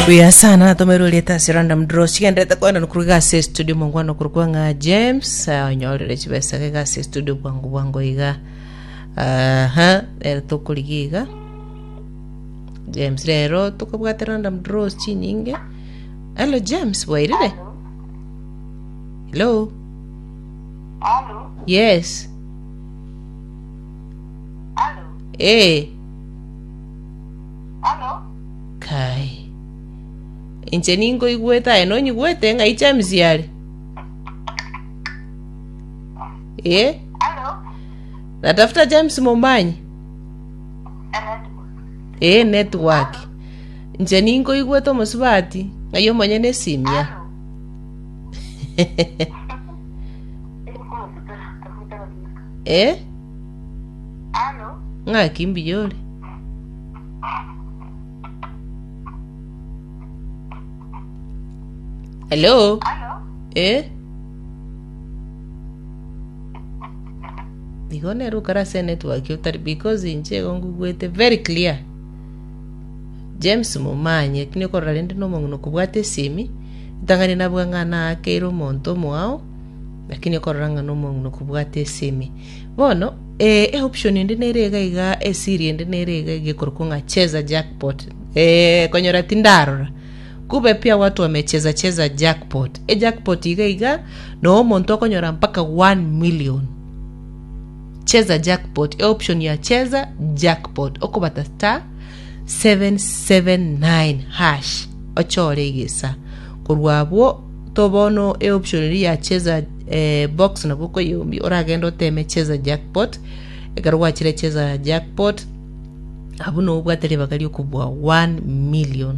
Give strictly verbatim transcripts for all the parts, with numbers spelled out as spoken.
Buya sana tomerwe rieta ase random draw chigenderete kwenda nokuru gase studio mongwana okuru ng'a James eh, onyorere chibesa ge gase studio bwangu bwangu iga. Aha, rero tokorigia iga James, rero tukobwate random draws chinyinge. Hello James, bwairire? Hello. Hello? Yes. Hello? Eh. Hello? Kai, inche ninkoigwete, aye nonyigwete? Ng'ai James yare? Eh. Hello? Natafuta James Momanyi. Eh, network. Inche ninkoigwete omosubati, ng'ai omonyene esimia? Eh. Hello? Ng'aki, mbuya ore? Hello. Hello? Eh, igo nere okare ase enetwork otari, because inche igo ngugwete very clear James Momanyi, lakini okorora rende na omong'ina okobwata esimi ritang'ani nabua ng'a naakeire omonto omoao, lakini okorora ng'a na omong'ina okobwata esimi. Bono eh, eoption ende nere iga iga, esiri ende nere iga iga ekorokwa ng'a cheza jackpot. Eh, konyora tindarora kube pia watu wamecheza cheza jackpot. Ejackpot iga iga no omonto okonyora mpaka one million. Cheza jackpot, eoption ya cheza jackpot, okobata star seven seven nine hash ochore egesa korwa abwo to. Bono eoption eria ya cheza eh, box nabo okoyeombia, oragende oteme cheza jackpot. Ekero gwachire cheza jackpot, abwo nobwate ribaga riokobua one million.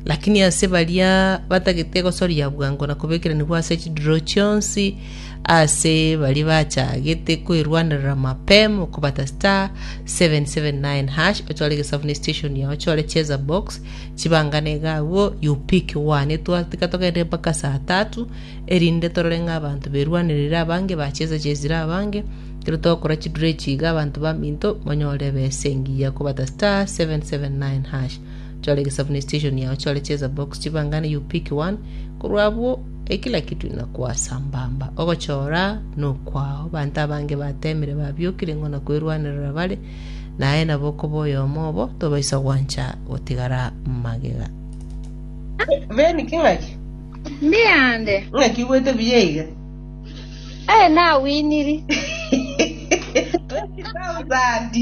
Lakini ase baria batagete gosoria bwango na kobekeranigwa ase chidraw chionsi, ase baria bachagete kwerwanerera mapema, okobata star seven seven nine hash, ochore egesabu ne station yao, ochore cheza box, chibangane iga abwo, you pick one. Etwatika togende mpaka saa tatu erinde torore ng'a abanto berwanerire abange, bacheza chezire abange. Ekero togokora chidraw echi iga, abanto baminto monyore ebesa engiya. Kobata star seven seven nine hash, chore egesabu ne station yao, chore cheza box, chibangane, you pick one. Korwa abwo ekila kitu inakuwa sambamba, ogochora nokwao. Abanto abange batemire, babiokire ng'o na kwerwanerera bare, naye nabo okoba oyomo obo, tobaisa gwancha gotigara magega. Beni king'aki? Mbiyande. Ng'aki igwete buya iga? Eh, nawiniri. twenty thousand.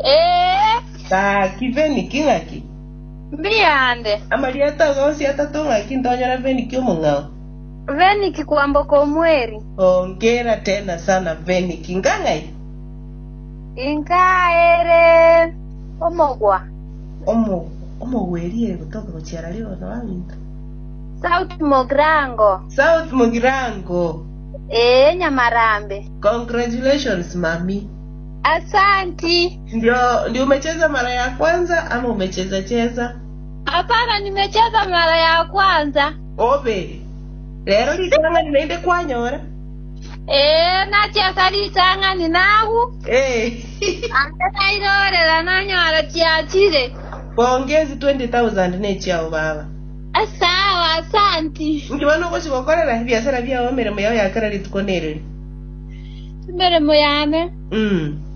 Eh, Gaki Beni, king'aki? Mbiyande. Amarieta gonsi atato ng'aki ntonyora Veniki omong'ao? Veniki kwamboka omweri. Ongera tena sana Veniki, ngang'ai? Inkaere omogwa. Omo omogweri gotoka gochiara ribono baminto. South Mogrango. South Mugirango. Eh, Nyamarambe. Congratulations mami. Asanti. Ndio ndio umecheza mara ya kwanza ama umecheza cheza? Hapana, nimecheza mara ya kwanza. Obe rero ritang'ani naende kwanyora. Eh, nacheza ritang'ani nagu. Eh. Ande nairorera nanyora chiachire. Pongezi, twenty thousand nechiao baba. Sawa, asanti. Nkibona ogochigokorera ebiasara biao, emeremo yao yakera rituko nereri? Emeremo yane. Mm.